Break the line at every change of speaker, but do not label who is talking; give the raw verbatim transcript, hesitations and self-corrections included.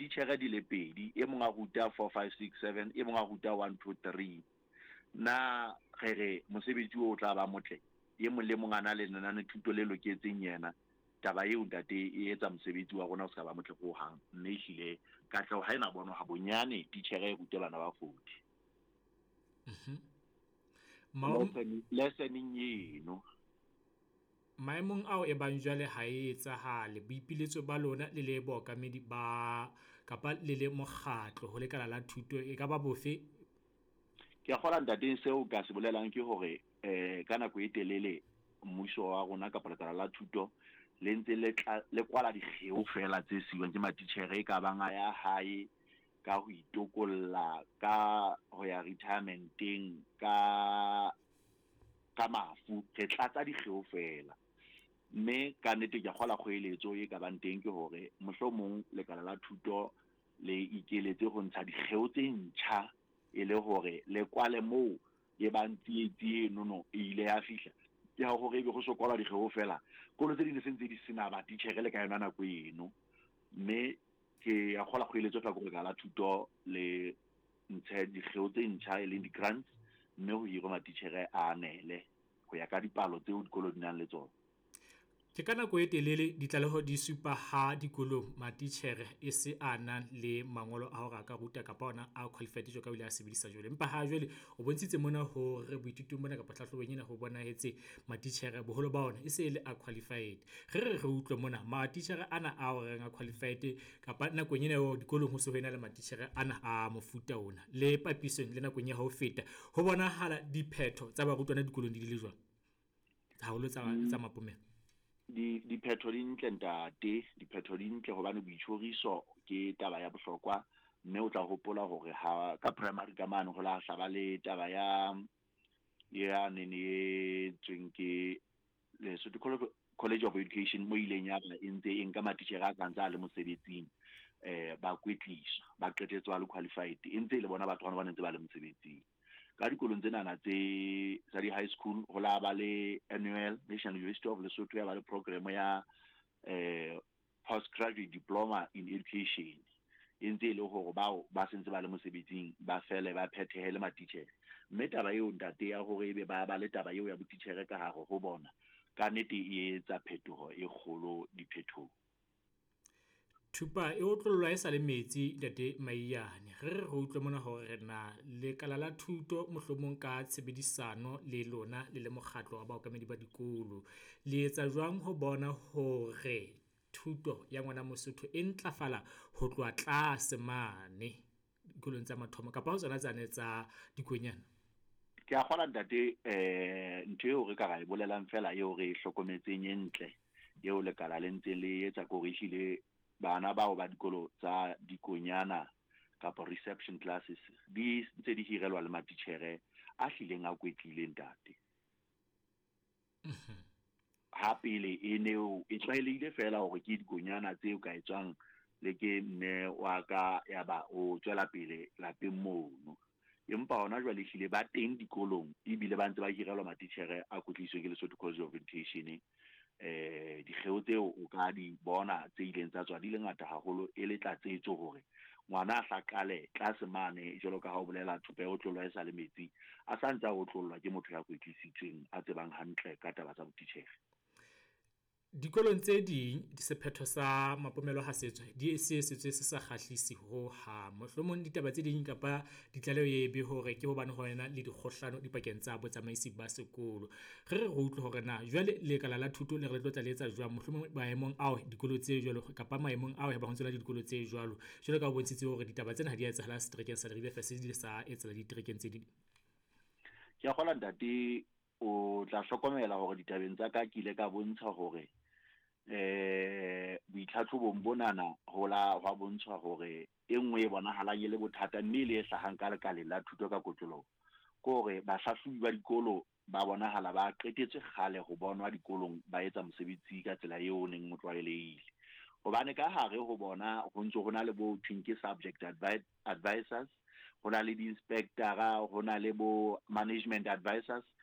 Titjhere di le pedi, e mong a ruta four five six seven, e mong a ruta one two three. Na re re mosebetsi o tla ba motle, e mong le mong a na le lenane thuto le loketseng yena. Taba eo, ntate, e etsa mosebetsi wa rona o ska ba motle hohang, mme ehlile katleho ha ena bonwa ha bonyane titjhere e rute bana ba forty.
Mm-hmm.
Lesson eno.
Maemong ao e bang jwale ha e etsahale, boipiletso ba lona le le baokamedi ba kapa le le mokgatlo ho lekala la thuto e ka ba bofe?
Ke a kgolwa, ntate, seo ka se bolelang ke hore eh ka nako e telele mmuso wa rona kapa lekala la thuto le ntse le tla le kwala dikgeo fela tse siwang ke matitjhere e ka bang a ya hae ka ho itokolla, ka ho ya retirementeng, ka ka mafu. Re tlatsa dikgeo fela, mme ka nnete ke a kgolwa kgoeletso e ka bang teng ke hore mohlomong lekala la thuto le ikeletse ho ntsha dikgeo tse ntjha e le hore le kwale moo e bang tsietsi enono e ile ya fihla ke ha hore ebe go so kwalwa dikgeo fela, kolo tse ding di se ntse di sena batitjhere le ka yona nako eno. Mme ke a kgolwa kgoeletso fela ke lekala la thuto le ntshe dikgeo tse ntjha e leng di-grants, mme ho hirwe matitjhere a anele ho ya ka dipalo tseo dikolo di nang le tsona.
Ke ka nako e telele ditlaleho di supa ha dikolong matitjhere e se a nang le mangolo a hore a ka ruta kapa ona a qualified jwalo ka o ile a sebedisa jwale. Empa ha jwale o bontshitse mona hore boithutong mona kapa hlahlobong ena ho bonahetse matitjhere boholo ba ona e se e le a qualified. Re re re utlwe mona matitjhere ana a reng a qualified kapa nakong ena eo dikolong ho se ho ena le matitjhere ana a mofuta ona le papisong le nakong ya ho feta, ho bonahala diphetho tsa barutwana dikolong di le jwang, haholo tsa tsa mapomelo?
Di diphetho di ntle, ntate, diphetho di ntle hobane boitjhoriso ke taba ya bohlokwa, mme o tla hopola hore ha ka primary ka mane ho la hlaba le taba ya ya nene e tsweng ke Lesotho College of Education, mo ileng ya ba e ntse e nka matitjhere a ka ntse a le mosebetsing, eh ba kwetliswa, ba qetetse ba le qualified, e ntse e le bona batho bana ba ntse ba le mosebetsing. Ka dikolong tsenana tse tsa di-high school ho la ba le annual National University of Lesotho ya ba le program ya eh postgraduate diploma in education, e ntse e le hore bao ba sentse ba le mosebetsing ba fele ba phethehele matitjhere. Mme taba eo, ntate, ya hore ebe ba ba le taba eo ya botitjhere ka hare ho bona, ka nnete e etsa phetoho e kgolo diphethong.
Thupa e otlollwa e sa le metsi, ntate Maiyane. Re re re utlwe mona hore na lekala la thuto mohlomong ka tshebedisano le lona le le mokgatlo wa baokamedi ba dikolo le etsa jwang ho bona hore thuto ya ngwana Mosotho e ntlafala ho tloha tlase mane dikolong tsa mathomo kapa ho tsona tsane tsa dikonyana?
Ke a kgolwa, ntate, eh ntho eo re ka ra e bolelang fela eo re e hlokometseng e ntle eo lekala le ntse le etsa ke hore ehlile bana bao ba dikolo tsa dikonyana kapa reception classes di ntse di hirelwa le matitjhere a hlileng a kwetlile, ntate. Ha pele e ne e tlwaelehile fela hore ke dikonyana tseo ka etswang le ke mme wa ka ya ba o tswela pele lapeng mono, empa hona jwale ehlile ba teng dikolong ebile ba ntse ba hirelwa matitjhere a kwetlisitsweng ke Lesotho College of Education. eh dikgeo tseo o ka di bona tse ileng tsa tswa di le ngata haholo e le tlatsetso hore ngwana a hlaqale tlase mane jwalo ka ha o bolela thupa e otlollwa e sa le metsi, a sa ntse a otlollwa ke motho ya kwetlisitsweng a tsebang hantle ka taba tsa botitjhere.
Dikolong tse ding sephetho sa mapomelo ha se tswa di se setswe se sa kgahlise ho hang. Mohlomong ditaba tse ding kapa ditlaleho e be hore ke hobane ho ena le dikgohlano dipakeng tsa botsamaisi ba sekolo. Re re re utlwe hore na jwale lekala la thuto le re le tlo tla le etsa jwang mohlomong maemong ao dikolo tse jwalo kapa maemong ao ba ho ntso le dikolo tse jwalo, jwalo ka o bontshitse hore ditaba tsena ha di a etsahala seterekeng sa Leribe fela, se di sa etsahala diterekeng tse ding.
Ke a kgolwa, ntate, o tla hlokomela hore ditabeng tsa ka ke ile ka bontsha hore eh boitlhatlhobong bonana ho la hwa bontshwa hore e nngwe e bonahalang e le bothata mme e le e hlahang ka lekaleng la thuto ka kotloloho ke hore bahlahlobi ba dikolo ba bonahala ba qetetse kgale ho bonwa dikolong ba etsa mosebetsi ka tsela eo o neng o tlwaelehile, hobane ka hare ho bona ho ntso ho na le bo thweng ke subject advi advisors, ho na le di-inspectora, ho na le bo management advisors.